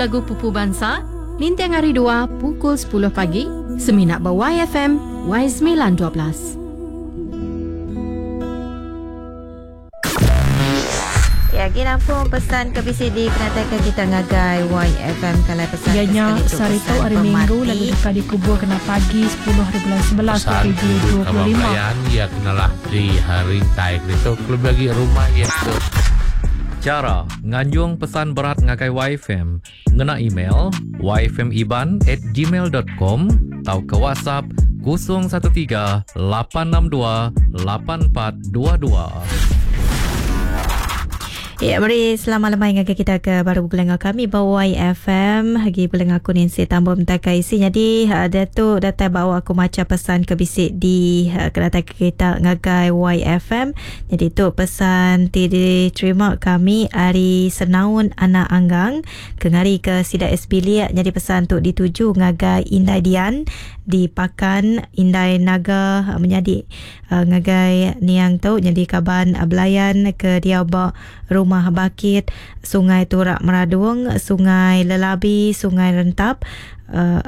lagu-lagu pupu bansa ninting hari dua pukul sepuluh pagi semina ba YFM Y semilan 12. Ya, agi nampung pesan ke bisi dikenataika kita ngagai YFM kalai pesan Iya ke nya sekali tu sehari tu pesan hari Minggu pemati. lalu deka dikubur kena pagi sepuluh hari bulan 11 Pesan tuju kaban 2025. belayan iya kenalah di rintai keditu kelebih agi rumah iya ke Chara nganjung pesan berat ngagai YFM ngena email yfmiban@gmail.com tauka WhatsApp 013 862 8422. Ya, meri selamat lemai ngagai kita ke baru begulai enggau kami ba YFM. Agi begulai enggau aku Nancy Tambom Takai isi. Jadi dia tu datai bawa aku macha pesan ke bisi di kedatai ke kita ngagai YFM. Jadi tu pesan ti diterima kami ari Senaun Anak Anggang ke ngari ke sida SB Liak. Jadi pesan tu dituju ngagai Indai Dian di Pakan, Indai Naga menyadi ngagai niang tu nyadi kaban belayan ke diau ba Rumah Bakit, Sungai Turak Meradung, Sungai Lelabi, Sungai Rentap,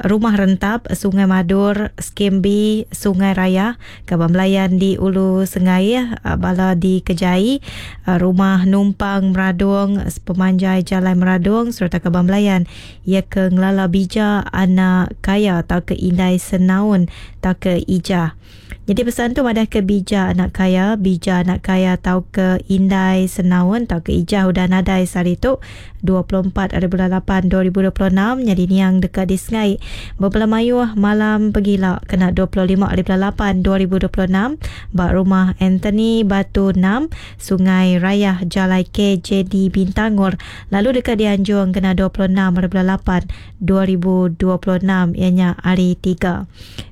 Rumah Rentap, Sungai Madur, Skim B, Sungai Raya, kaban belayan di Ulu Sengai, bala di Kejai, Rumah Numpang Meradung, sepemanjai Jalai Meradung sereta kaban belayan iya ke ngelala bija anak kaya tauka indai senaun tauka ijah. Jadi pesan tu madah ke bija anak kaya, bija anak kaya tauka indai senaun tauka ijah udah nadai sehari tu 24 hari bulan 8 2026 nyadi niang deka disengai bebela mayuh malam pegila kena 25 hari bulan 8 2026 ba Rumah Anthony Batu 6 Sungai Rayah Jalai KJD Bintangor lalu deka dianjung kena 26 hari bulan 8 2026 iya nya hari 3.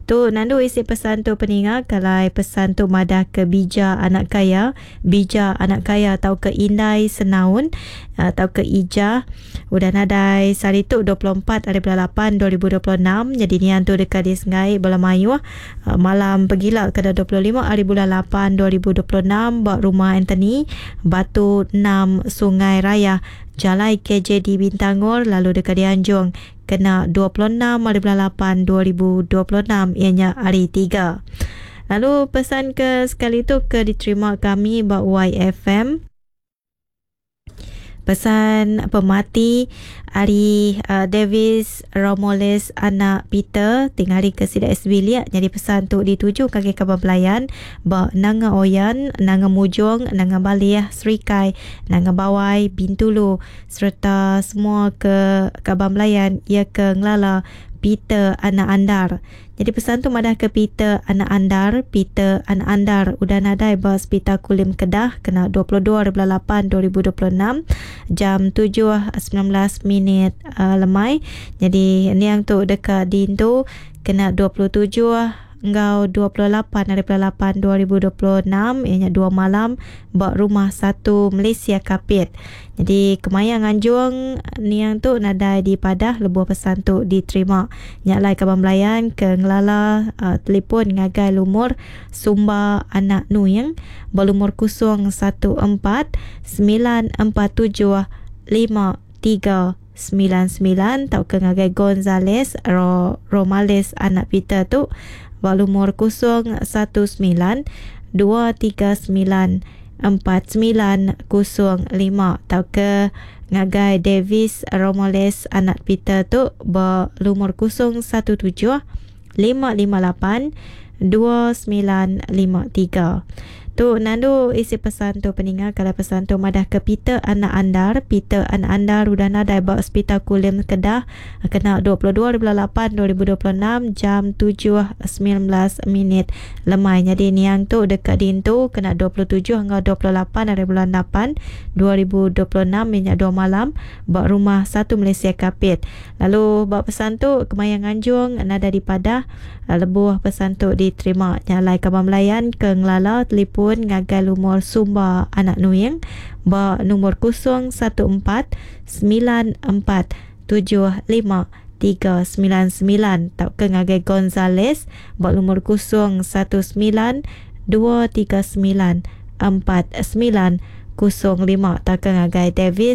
Tu nandu isi pesan tu peninga kalai pesan tu madah ke bija anak kaya, bija anak kaya tauka indai senaun tauka ijah udah nadai sehari tu 24 hari bulan 8 2026 nyadi nian tu deka disengai bala mayuh malam pegila kena 25 hari bulan 8 2026 ba Rumah Anthony Batu 6 Sungai Raya Jalai KJD Bintangor lalu deka dianjung kena 26 hari bulan 8 2026 iya nya hari 3. Lalu pesan ke sekali tu ke diterima kami ba YFM. Pesan pemati ari Davis Romoles anak Peter ti ngari ke sida SB Liak nyadi pesan tu dituju ngagai kaban belayan ba Nanga Oyan, Nanga Mujong, Nanga Balih, Serikai, Nanga Bawai, Bintulu sereta semua ke kaban belayan iya ke ngelala Peter anak Andar. Nyadi pesan tu madah ke Peter anak Andar, Peter anak Andar udah nadai ba Sepital Kulim Kedah kena 22 hari bulan 8 2026 jam 7.19 minit lemai. Nyadi niang tu deka diintu kena 27 enggau 28 hari bulan 8 2026 iya nya dua malam ba Rumah Satu Malaysia Kapit. Nyadi kemaya nganjung niang tu nadai dipadah lebuh pesan tu diterima. Nya alai kaban belayan ke ngelala telefon ngagai lumur Sumba Anak Nuing ba lumur 014 947 5399 tauka ngagai Gonzales Romales Anak Peter tu ba lumur 019 239 4905 tauka ngagai Davis Romoles anak Peter tu ba lumur 017 558 2953. Tu nandu isi pesan tu peninga kalau pesan tu madah ke Peter anak Andar, Peter anak Andar udah nadai ba Hospital Kulim Kedah kena 22 bulan 8 2026 jam 7.19 minit lemai. Nyadi niang tu deka diintu kena 27 enggau 28 hari bulan 8 2026 minyak 2 malam ba Rumah Satu Malaysia Kapit. Lalu ba pesan tu kemaya nganjung nadai dipadah lebuh pesan tu diterima. Nya alai kaban belayan ke ngelala telefon ngagai lumur Sumba Anak Nuing ba lumur 014 9475 399 tauka ngagai Gonzales ba lumur 019 239 4905 tauka ngagai Davis.